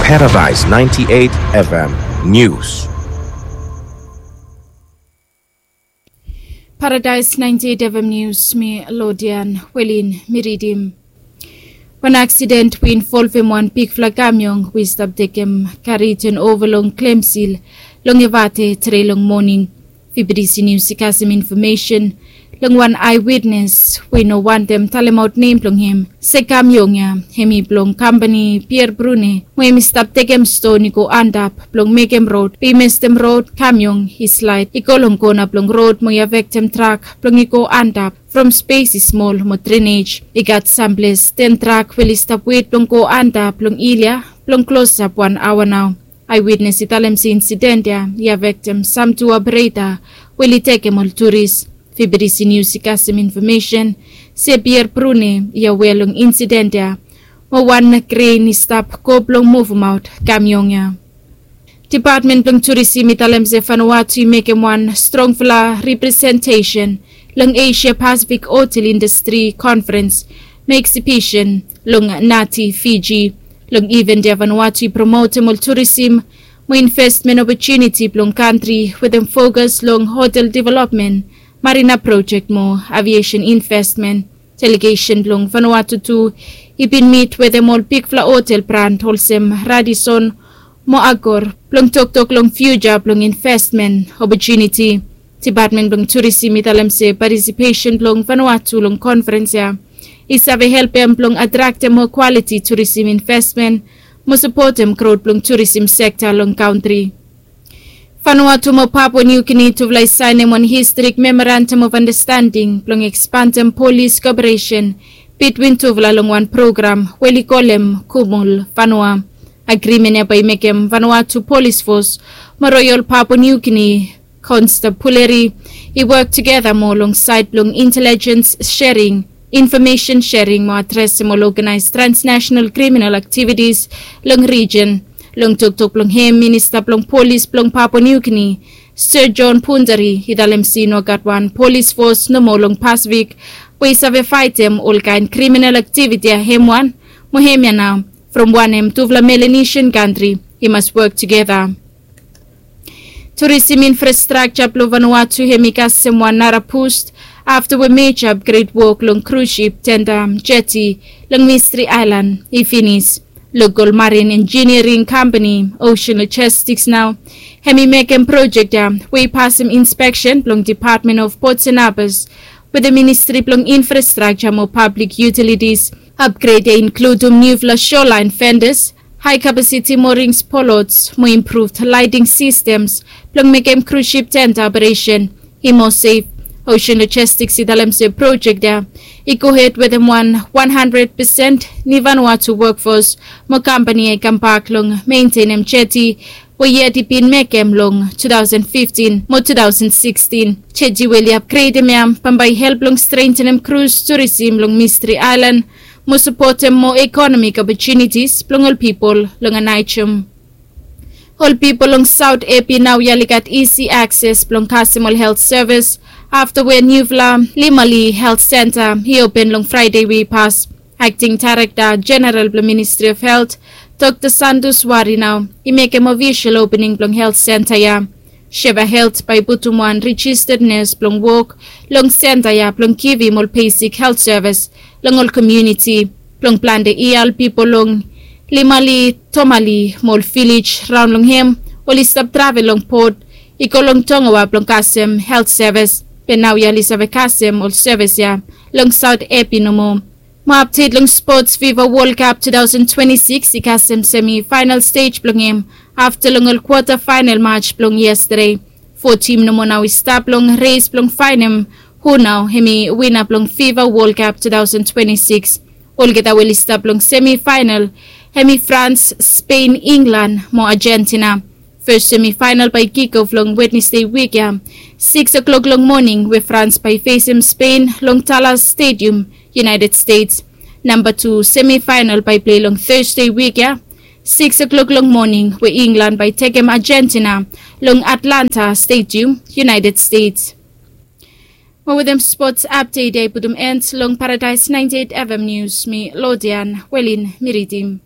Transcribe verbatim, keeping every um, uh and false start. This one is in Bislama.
Paradise ninety-eight F M News. Paradise ninety-eight F M News, mi Lodian Welin, mi ridim. Wan aksiden we involvem wan bigfala kamiong we i stap tekem kari tenova long Klemsil long Evate tre long moning. Fibidisi Nius i kasem infomesen long wan aewitnes we i no wantem talemaot nem blong hem. Se kamiong ya hem i blong kampani Pierre Brune, we hem i stap tekem ston i go antap blong mekem rod, be i mestem rod, kamiong i slaed i go long kona blong rod mo i afektem trak blong i go antap from spes i smol mo drenej. I gat samples ten trak we oli stap wet blong go antap long hil ya blong klosap wan aoa nao. Aewitnes i talem se insiden ya i afektem sam tu opereta we oli tekem ol turis. Fibidisi Nius i kasem infomesen se Pierre Brune i awea long insiden ya mo wan kren i stap go blong muvemaot kamiong ya. Depatmen blong Turisim i talem se Vanuatu i mekem wan strongfala representesen long Asia Pasifik Hotel Indastri Konferens mo Eksibisen long Nadi, Fiji. Long iven ya Vanuatu i promotem ol turisim mo investmen opotuniti blong kantri wetem fokas long hotel developmen, marina projek mo aviesen investmen. Delegesen blong Vanuatu tu i bin mit wetem ol bigfala hotel brand olsem Radisson mo Accor blong toktok long fiuja blong investmen opotuniti. Depatmen blong Turisim i talem se patisipesen blong Vanuatu long konferens ya i save helpem blong atraktem moa kwaliti turisim investmen mo sapotem grot blong turisim sekta long kantri. Vanuatu mo Papua New Guinea tufala i saenem wan historik memorandum of understanding blong ekspandem polis koperesen bitwin tufala long wan program we oli kolem Kumul Vanua. Agrimen ya bae i mekem Vanuatu Polis Fos mo Royal Papua New Guinea Constabulary i wok tugeta moa long saed blong intelejens sering, infomesen sering mo adresem ol oganaes transnasenal kriminal aktivitis long rijen. Long toktok blong hem, minista blong polis blong Papua New Guinea, Sir John Pundari, i talem se i no gat wan polis fos nomo long Pasifik we i save faetem olkaen kriminal aktiviti ya hem wan, mo hemia nao from wanem tufala Melanesian kantri i mas wok tugeta. Turisim infrastrakja blong Vanuatu hem i kasem wan nara bust afta we meja apgred wok long krusip tenda jeti long Mistri Aelan i finis. Lokol marin enjiniering kampani Ocean Logistics nao hem i mekem projek ya we i pasem inspeksen blong Depatmen of Ports and Harbors wetem Ministri blong Infrastrakja mo Pablik Yutilitis. Apgred ya i inkludum niufala shorelaen fendas, hae kapasiti moring spolots mo improved laeting sistems blong mekem krusip tenda operesen i moa sef. Ocean Logistics i talem se projek ya i gohed wetem wan wan handred pesen ni Vanuatu wokfos mo kampani ya i kambak long mentenem jeti we yet i bin mekem long two thousand fifteen mo two thousand sixteen. Jeti we oli apgredem ya bambae i help long strentenem krus turisim long Mistri Aelan mo sapotem moa ekonomik opotunitis blong ol pipol long Aneityum. Ol pipol long Saot Epi naoia oli gat isi akses blong kasem ol helt sevis afta we niufala Limali Helt Senta i open long Fraede we i pas. Akting Daerekta Jeneral blong Ministri of Helt, Dokta Santos Wari nao i mekem ofisol opening blong helt senta ya. Sheva Helt bae i putum wan rejisted nes blong wok long senta ya blong givim ol besik helt sevis long ol komuniti. Blong plante ial pipol long Limali, Tomali mo ol vilej raon long hem oli stap travel long bot i go long Tongawa blong kasem helt sevis. Be naoia oli save kasem ol sevis ya long Saot Epi nomo. Mo apdet long spots, Fifa Wol Kap two thousand twenty-six i kasem semi faenal stej blong hem afta long ol kwata faenal maj blong yestade. Fo tim nomo nao i stap long res blong faenem hu nao hem i wina blong Fifa Wol Kap two thousand twenty-six. Olgeta we oli stap long semi faenal hem i Frans, Spen, Inglan mo Ajentina. Fes semi faenal bae i kikof long Wednesde wik ya, sikis klok long moning, we Frans bae i fesem Spen long Dallas Stadium, United States. Namba tu semi faenal bae i plei long Tasde wik ya, sikis klok long moning, we Inglan bae i tekem Ajentina long Atlanta Stadium, United States. Mo wetem spots apdet ya i putum en long Paradise ninety-eight F M News, mi Lodian Welin mi ridim.